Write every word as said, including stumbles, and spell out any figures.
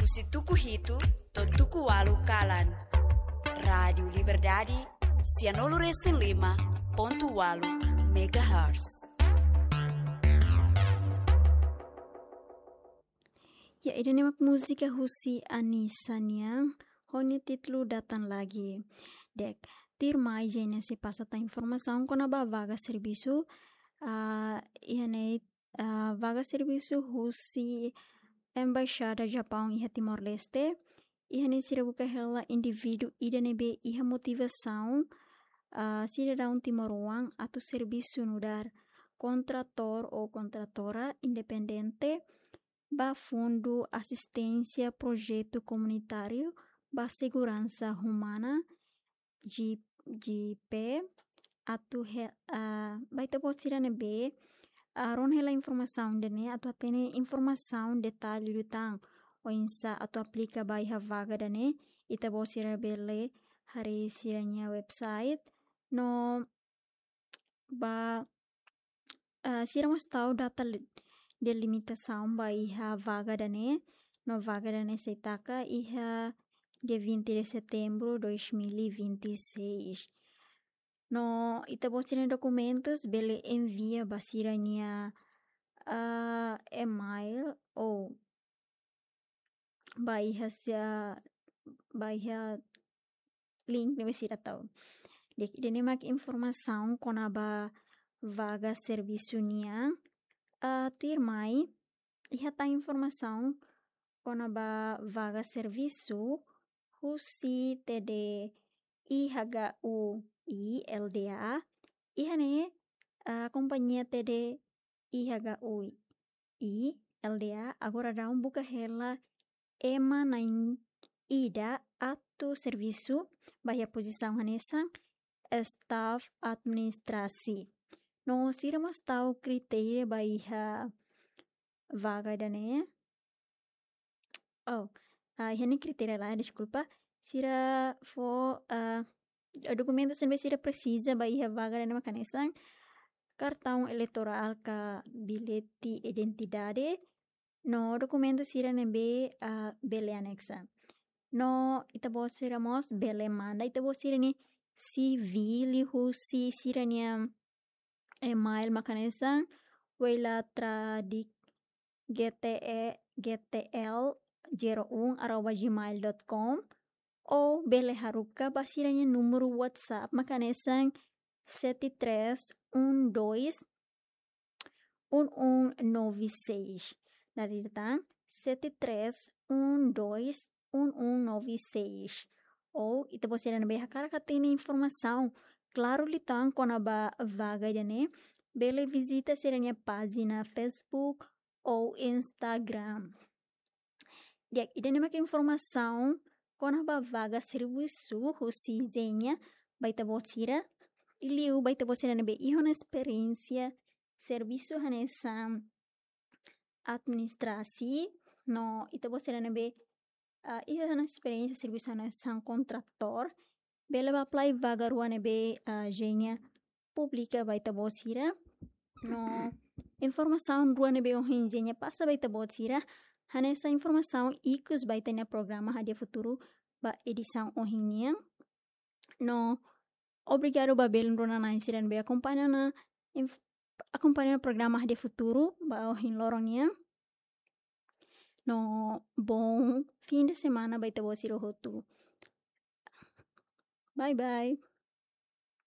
Husi tuku hitu to'o tuku ualu kalan. Rádiu Liberdade, sianulu resin lima pontu ualu megahertz. Ya, ida-ne'e mak múzika husi Anisa nian, ho nia títulu Datang Lagi. Di'ak, tuirmai Jenia sei pasa tan informasaun kona-ba vaga servisu, ah, iha ne'e, ah, vaga servisu husi Embaixada Japaun iha Timor-Leste. Iha ne'e sira buka hela indivíduu ida ne'ebé iha motivasaun, ah, sidadaun timoroan atu servisu nu'udar kontratór ou kontratóra independente ba Fundu Asisténsia Projetu Komunitáriu ba Seguransa Umana, G-, G P, atu he-, ah, ba ita-boot sira ne'ebé, ah, rona hela informasaun ida-ne'e, atu hatene informasaun detalle liután oinsá atu aplika ba iha vaga ida-ne'e, ita-boot sira bele haree sira-nia website, no ba, ah, sira mós tau data li-, delimitasaun ba iha vaga ida-ne'e, no vaga ida-ne'e sei taka iha dia vinte de setembro dois mil e vinte e seis. No ita-boot sira-nia dokumentus bele envia ba sira-nia, ah, email ou ba iha sia-, ba iha link ne'ebé sira tau. Di'ak, ida-ne'e mak informasaun kona-ba vaga servisu nian. Ah, tuirmai, iha tan informasaun kona-ba vaga servisu husi T D I H U I L D A. Iha ne'e, ah, kompañia T D I H U I L D A agora daudaun buka hela ema na'in ida atu servisu ba iha pozisaun hanesan staff administrasi. No sira mós tau kritéria ba iha vaga ida-ne'e. Oh, ah, iha ne'e kritéria lae, deskulpa. Sira fó, ah, dokumentus ne'ebé sira presiza ba iha vaga ida-ne'e mak hanesan kartaun eleitorál ka bilhete identidade, no dokumentu sira ne'ebé, ah, bele anexa. No ita-boot sira mós bele manda ita-boot sira-nia C V liuhusi sira-nia email mak hanesan weila tradik G T E, G T L zero um arroba gmail dot com, ou bele haruka ba sira-nia númeru WhatsApp mak hanesan sete três um dois um um nove seis. Dala ida tan, sete três um dois um um nove seis. Ou ita-boot sira ne'ebé hakarak hatene informasaun klaru liután kona-ba vaga ida-ne'e, bele vizita sira-nia pájina Facebook ou Instagram. Di'ak, ida-ne'e mak informasaun kona-ba vaga servisu husi Zenia ba ita-boot sira. I liu ba ita-boot sira ne'ebé iha ona esperiénsia servisu hanesan administrasi, no ita-boot sira ne'ebé, ah, iha ona esperiénsia servisu hanesan kontratór, bele bá apply vaga rua ne'ebé, ah, Zenia publika ba ita-boot sira. No informasaun rua ne'ebé ohin Zenia pasa ba ita-boot sira hanesan informasaun ikus ba ita-nia programa Hadi'a Futuru ba edisaun ohin nian. No obrigadu ba belun rona-na'in sira ne'ebé akompaña ona inf-, akompaña ona programa Hadi'a Futuru ba ohin loron nian. No bom fim de semana ba ita-boot sira hotu. Bye bye.